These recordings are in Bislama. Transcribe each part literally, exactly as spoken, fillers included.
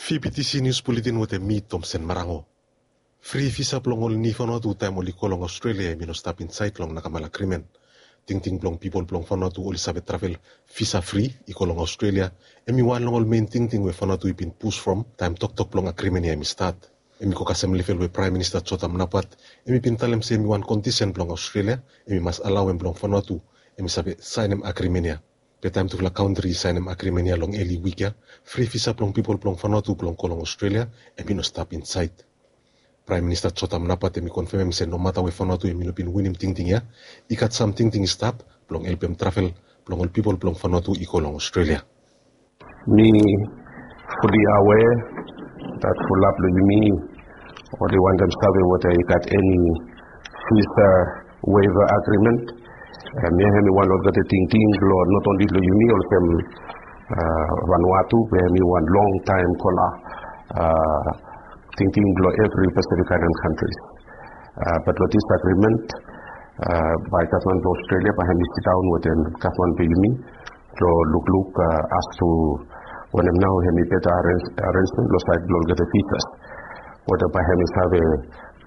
Fibitisi nius buletin wetem mi, Tomsen Marango. Fri visa blong ol ni Vanuatu taem oli go long Australia hemi no stap insaed long nakamal agrimen. Tingting blong pipol blong Vanuatu oli save travel visa fri i go long Australia hemi wan long ol mein tingting we Vanuatu i bin pus from taem toktok blong agrimen ya hemi stat. Hemi go kasem level we Praem Minista Jotham Napat hemi bin talem se hemi wan kondisen blong Australia hemi mas alaoem blong Vanuatu hemi save saenem agrimen ya. Be taem tufala kantri i saenem agrimen ya long eli wik ya, fri visa blong pipol blong Vanuatu blong go long Australia hemi no stap insaed. Praem Minista Jotham Napat hemi konfemem se nomata we Vanuatu hemi no bin winim tingting ya, i gat sam tingting i stap blong helpem travel blong ol pipol blong Vanuatu i go long Australia. Mi fuli awea dat fulap long yumi oli wantem save weta i gat eni visa waiver agreement. Hemia hemi wan olgeta tingting long not only long yumi olsem Vanuatu be hemi wan longtaem kola tingting blong evri Pacific Island countries. Bat long dis agreement bae gavman blong Australia bae hemi sidaon wetem gavman blong yumi long lukluk as to wanem nao hemi beta arrangement long saed blong olgeta visas. Weta bae hemi save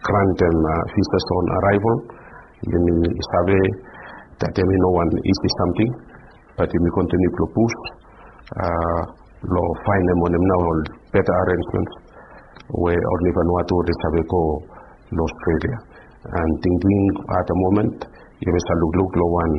grantem visas on arrival. Yumi save dat hemi no wan isi samting, bat yumi kontiniu blong pus long faenem wanem nao ol beta arrangement we ol ni Vanuatu oli save go long Australia. And tingting at the moment yumi save lukluk long wan